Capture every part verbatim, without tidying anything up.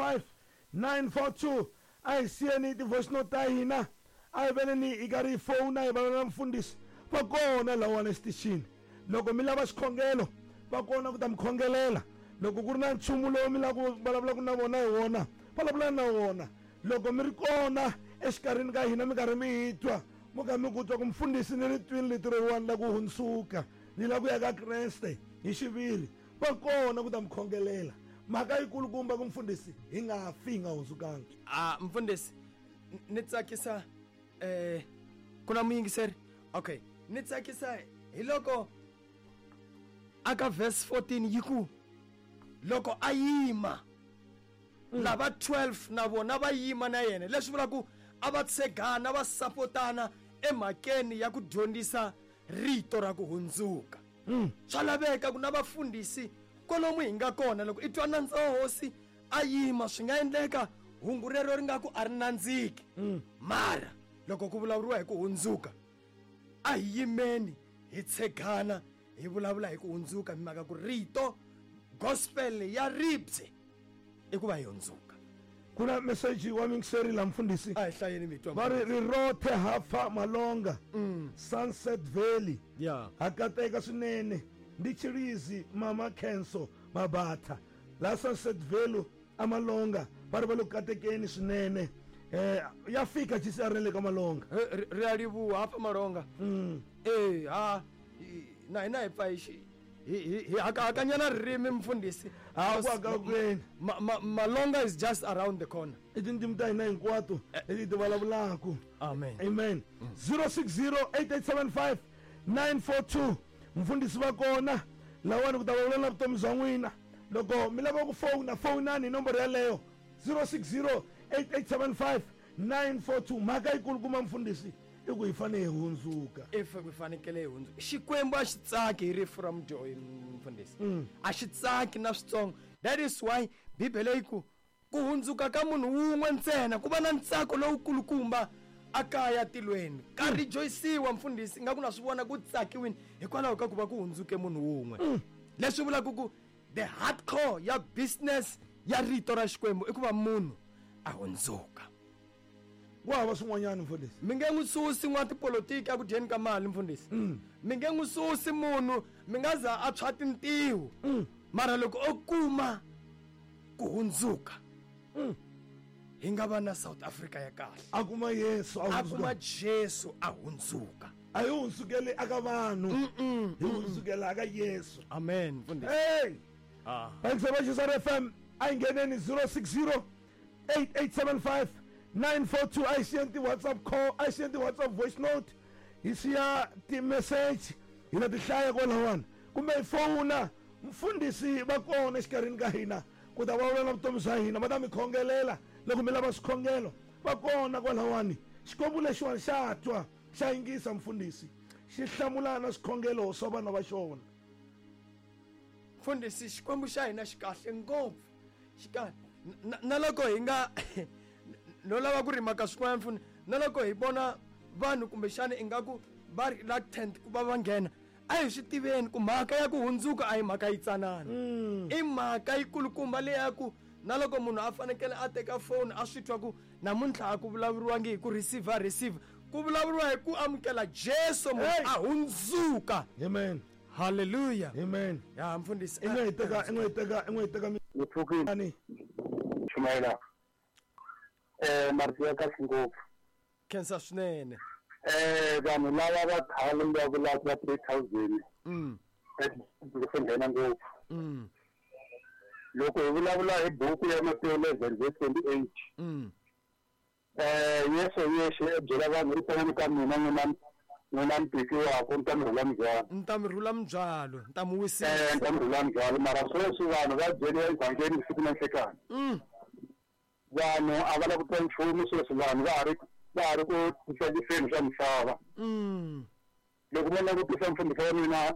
five nine four two. A hi siyeni ti-voice note ta hina, a hi veneni hi karhi hi fowuna hi vulavula na mfundhisi. Va kona lawani exitichini, loko mi lava xikhongelo va kona ku ta mi khongelela. Loko ku ri na nchumu lowu mi lava ku vulavulaka na vona hi wona, vulavula na wona. Loko mi ri kona exikarhini ka hina mi karhi mi hi twa, mo ka mi ku twa ku mfundhisi ni ri twini rito reriwani la ku hundzuka, ni la ku ya ka Kreste hi xiviri, va kona ku ta mi khongelela. Mhaka yikulukumba ku mfundhisi hi nga fi hi nga hundzukanga. A mfundhisi ni tsakisa eh ku na muyingiseri. Okay, ni tsakisa hi loko aka verse fourteen yi ku loko a yima lava twelve na vona va yima na yena, leswi vulaka ku a va tshegana va sapotana emhakeni ya ku dyondzisa rito ra ku hundzuka. Swa laveka ku na vafundhisi kwalomu hi nga kona, loko i twa nandza wa hosi a yima, swi nga endleka hungu rero ri nga ku a ri nandziki, mara loko ku vulavuriwa hi ku hundzuka a hi yimeni hi tshegana hi vulavula hi ku hundzuka, hi mhaka ku rito gospel ya ribye i ku va hi hundzuka. Ku na message wa mingiseri la mfundhisi, a hi hlayeni mitwa va ri rirothe hafa Malonga, Sunset Valley. Yeah. Ha kateka swinene ndi Chilizi mama Kenso Mabatha la Sunset Valley amalonga, va ri va le ku katekeni swinene. Eh ya fika G C R le ka Malonga. Ri a livhuwa hafa Malonga. Eh ha na hina hi pfa hi xi hi hi hakanyana ririmi mfundhisi. Ha ku hakakweni. Malonga is just around the corner. I tindzimi ta hina hinkwato leti ti vulavulaka. Amen. Amen. zero six zero eight eight seven five nine four two. Mfundhisi va kona lawani ku ta vulavula na vutomi bya n'wina. Loko mi lava ku fowuna, fowunani hi nomboro yaleyo zero six zero eight eight seven five nine four two. Mhaka yikulukumba mfundhisi i ku hi fanele hi hundzuka. If hi fanekele hi hundzuka, Xikwembu a xi tsaki hi rifu ra mudyohi mfundhisi, a xi tsaki na switsongo. That is why Bibele yi ku ku hundzuka ka munhu wun'we ntsena ku va na ntsako lowukulukumba a kaya tilweni. Ka rejoiciwa mfundhisi, nga ku na swi vona ku tsakiwini hikwalaho ka ku va ku hundzuke munhu wun'we. Leswi vulaka ku the hardcore ya business ya rito ra Xikwembu i ku va munhu a hundzuka. Ku hava swin'wanyana mfundhisi. Mi nge n'wi susi n'watipolitiki eku dyeni ka mali mfundhisi. Mi nge n'wi susi munhu, mi nga za a tshwa tintiho. Mara loko o kuma ku hundzuka, hi nga va na South Africa ya kahle. A kuma Yesu a A kuma Jesu a hundzuka. A hi hundzukeli aka vanhu, hi hundzukela aka Yesu. Amen mfundhisi. Hey. Ah. Thanks so much, S F M. A hi ngheneni zero six zero eight eight seven five nine four two. A hi siyeni ti-WhatsApp call, a hi siyeni ti-WhatsApp voice note, hi siya ti-message, hi na ti hlaya kwalawani, kumbe hi fowuna mfundhisi va kona exikarhini ka hina ku ta vulavula na vutomi bya hina, va ta mi khongelela loko mi lava swikhongelo, va kona kwalawani. Xikwembu lexiwani xa twa, xa yingisa mfundhisi, xi hlamula na swikhongelo swa vana va xona. Mfundhisi, Xikwembu xa hina xi kahle ngopfu, xi kahle. Na loko hi nga no lava ku rima ka swin'wana mfundhisi, na loko hi vona vanhu kumbexana ingaku va reluctant ku va va nghena, a hi swi tiveni ku mhaka ya ku hundzuka a hi mhaka yitsanana. I mhaka yikulukumba leyi ya ku na loko munhu a fanekele a teka phone a swi twa ku namuntlha a ku vulavuriwangi hi ku receive receive, ku vulavuriwa hi ku amukela Jesu munhu a hundzuka. Amen. Hallelujah. Amen. Ya mfundhisi. I nga hi teka, i nga hi teka, i nga hi teka mi- Ni pfukile. Ani? Chumayela. Eh, marito ya kahle ngopfu. Khensa swinene. Eh, vanhu lava va khale va vulaka va three thousand. Mm. Eh, swi nghena ngopfu. Mm. Loko hi vulavula hi buku ya Matewu eleven verse twenty-eight. Mm. Eh, Yesu yexe u byela vanhu ri tsanani ka mina n'wina n'wina mi tekiwaka, ni ta mi rhula mindzhwalo. Ni ta mi rhula mindzhwalo, ni ta mi wisisa. Eh, ni ta mi rhula mindzhwalo, mara sweswi vanhu va byeriwa evhangeli siku na nhlekani. Mm. Vanhu a va lavi ku twa nchumu sweswi, vanhu va ha ri va ha ri ku titsakiseni swa misava. Mm. Loko mo langutisa mfundhisi wa mina,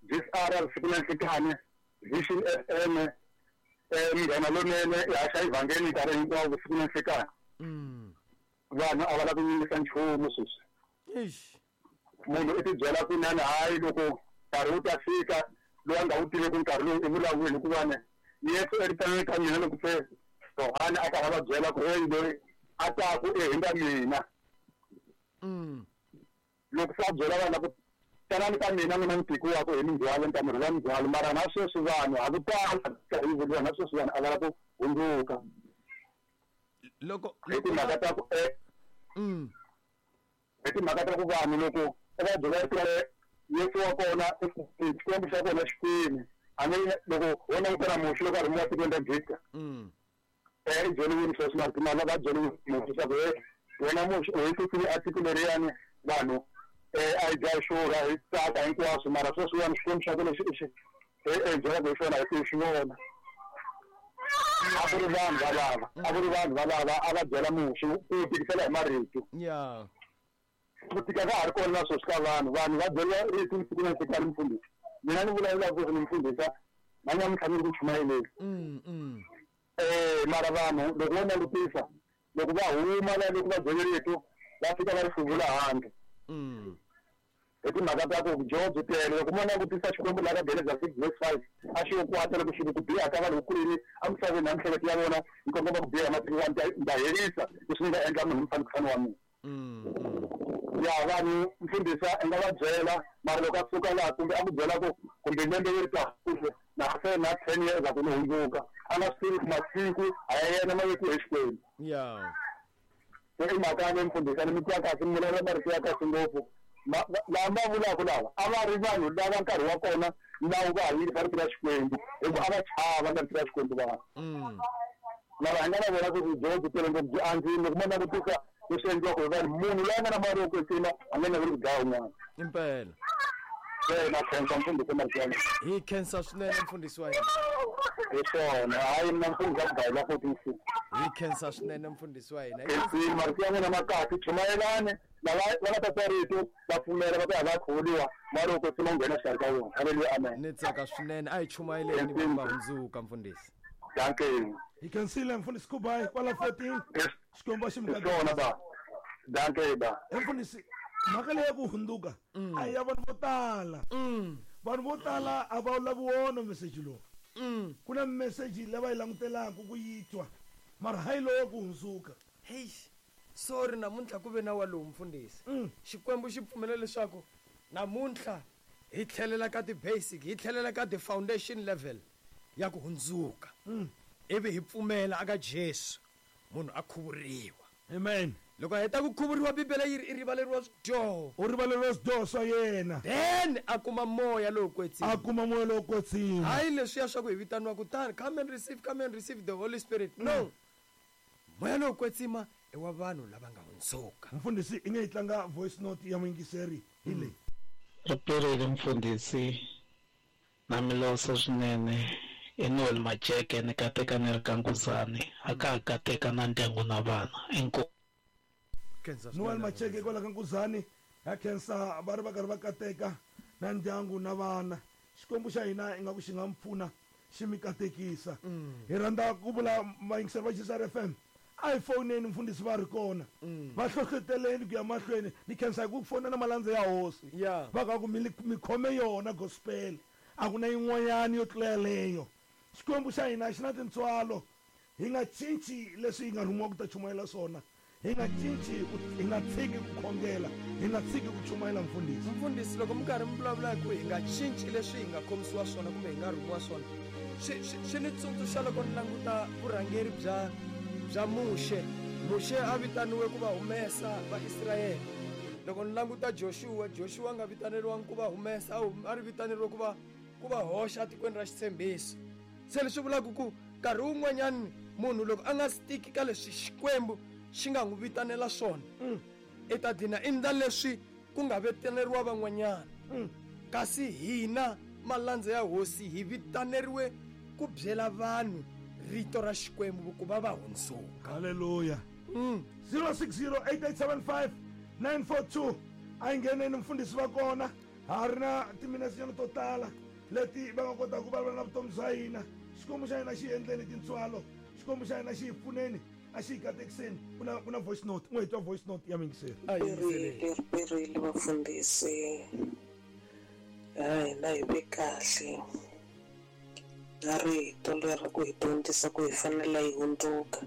G C R siku na nhlekani, Vision F M, eh, Munghana Lonene, i haxa evhangeli nkarhi hinkwawo siku na nhlekani. Mm. Vanhu a va lavi ku yingisa nchumu sweswi. Eish. Munhu i tibyela ku nani, hayi, loko nkarhi wu ta fika loyi a nga wu tiveki nkarhi lowu i vulavuli, hikuva ni Yesu eritanweni ka mina loko se Yohane a karhi a va byela ku hey loyi a taku ehenhla mina. Mm. Loko se a byela vanhu ku tanani ka mina n'wina mi tikiwaka hi mindzhwalo ni ta mi rhula mindzhwalo, mara na sweswi vanhu ha ku tala yi vuriwa na sweswi vanhu a va lava ku hundzuka. Loko hi timhaka ta ku eh mm. hi timhaka ta ku vanhu loko va byela ku Yesu wa kona Xikwembu xa kona Xikwembu a ni loko wo langutela Muxe loko a rhumiwa tikweni ra Egipta. Mm. Eh i byeriwile sweswi mara timhaka va byeriwile Muxe swa ku wena Muxe u hi tisile a tiko leriyani vanhu eh a hi dya xurha hi tsaka hinkwaswo, mara sweswiwani Xikwembu xa kona xi xi e byelaka hi xona hi ti xi vona. A ku ri vanhu valava a ku ri vanhu valava a va byela Muxe ku tikisela hi marito. Yeah. Ku tika ka ha ri kona na sweswi ka vanhu vanhu va byeriwa rito siku na siku ni mfundhisi. Mina ni vulavulaka ku ni mfundhisa na namuntlha ni ri ku chumayeleni. Mm, mm. Eh mara vanhu loko vo langutisa loko va huma la loko va byele rito va fika va ri hluvula handle. Mm. Hi timhaka ta ku dyoho byi tele loko mo langutisa Xikwembu laha ka Genesis six verse five a xi yo kwata loko xi ku biha ka vanhu ku emisaveni na miehleketo ya vona yi kongoma ku biha masiku wa ni ta herisa leswi ni nga endla munhu mfanekisano wa mina. Mm. Ya vanhu mfundhisa i nga va byela mara loko a suka laha kumbe a ku byela ku kumbe lembe leri taka kumbe na se na ten years a ku ni hundzuka a nga swi tivi ku masiku a ya yena ma vekiwe hi Xikwembu. Yeah. Se i mhaka ya mfundhisa ni mitwa kahle mi vulavula marito ya kahle ngopfu. Lava va vulaka lava a va ri vanhu lava nkarhi wa kona lawa va ha yingisa rito ra Xikwembu hikuva a va chava na rito ra Xikwembu vanhu. Mm. Lava hi nga na vona ku dyoho byi tele ngopfu byi andzile loko mo langutisa leswi endliwaka hi vanhu munhu loyi a nga na mali yo kwetsima a nga naveli ku dlaya un'wana. Impela. Se na khensa mfundhisi marito ya mina. Hi khensa swinene mfundhisi wa hina. Hi swona hayi mina mfundhisi a ku dlayela fourteen six. Hi khensa swinene mfundhisi wa hina. Khensile marito ya n'wina ma kahle chumayelani lava va nga ta twa rito va pfumela va ta ya va khuvuriwa mali yo kwetsima wu nghena exikarhi ka vona. Haleluya, amen. Ni tsaka swinene a hi chumayeleni vanhu va hundzuka mfundhisi. Dankie. Hi khensile mfundhisi Kubai kwala fourteen. Xikwembu xi mi katekisa ba. Dankie ba. Mfundhisi mhaka leyi ya ku hundzuka a ya vanhu vo tala. Vanhu vo tala a va lavi wona message lowu. Ku na message leyi va yi langutelaka ku yi twa mara hayi lowo ku hundzuka. Hey, sorry namuntlha ku ve na walowu mfundhisi. Xikwembu xi pfumela leswaku namuntlha hi tlhelela ka ti-basic hi tlhelela ka ti-foundation level ya ku hundzuka. Ivi hi pfumela aka Jesu munhu a khuvuriwa. Amen. Loko a heta ku khuvuriwa Bibele yi ri i rivaleriwa swidyoho. U rivaleriwa swidyoho swa yena. Then a kuma moya lowo kwetsima. A kuma moya lowo kwetsima. Hayi leswiya swa ku hi vitaniwa kutani come and receive, come and receive the Holy Spirit. No. Moya lowo kwetsima i wa vanhu lava nga hundzuka. Mfundhisi i nge yi tlanga voice note ya muyingiseri hi leyi. Riperile mfundhisi na milosa swinene. I Noel Macheke ni kateka ni ri ka Nkuzani a ka ha kateka na ndyangu na vana inkomu. Noel Macheke kwala ka Nkuzani ha khensa va ri va karhi va kateka na ndyangu na vana. Xikwembu xa hina ingaku xi nga mi pfuna xi mi katekisa. Hi rhandza ku vula vayingiseri va G S R F M a hi foneni mfundhisi va ri kona va hlohloteleni ku ya mahlweni ni khensa hi ku fona na malandza ya hosi va ka ku mi khome yona gospel a ku na yin'wanyana yo tlula yaleyo. Xikwembu xa hina xi na tintswalo hi nga cinci leswi hi nga rhumiwa ku ta chumayela swona hi nga cinci hi nga tshiki ku khongela hi nga tshiki ku chumayela mfundhisi. Mfundhisi loko mi karhi mi vulavula hi ku hi nga cinci leswi hi nga khomisiwa swona kumbe hi nga rhumiwa swona swi swi ni tsundzuxa loko ni languta vurhangeri bya bya Muxe. Muxe a vitaniwe ku va humesa Vaisrayele. Loko ni languta Joshua, Joshua a nga vitaneriwangi ku va humesa a ri vitaneriwe ku va ku va hoxa etikweni ra xitshembiso. Se leswi vulaka ku nkarhi wun'wanyani munhu loko a nga stiki ka leswi Xikwembu xi nga n'wi vitanela swona i ta dlina endla leswi ku nga vitaneriwa van'wanyana. Kasi hina malandza ya hosi hi vitaneriwe ku byela vanhu rito ra Xikwembu ku va va hundzuka. Haleluya. zero six zero eight eight seven five nine four two a yi ngheneni mfundhisi va kona ha ri na timinetse to tala leti va nga kotaka ku vulavula na vutomi bya hina. Xikwembu xa hina xi endleni tintswalo Xikwembu xa hina xi hi pfuneni a xi hi katekiseni. Ku na ku na voice note n'we hi twa voice note ya muyingiseri. Riperile riperile vafundhisi ha hina hi ve kahle Na rito leri ku hi dyondzisa ku hi fanele hi hundzuka.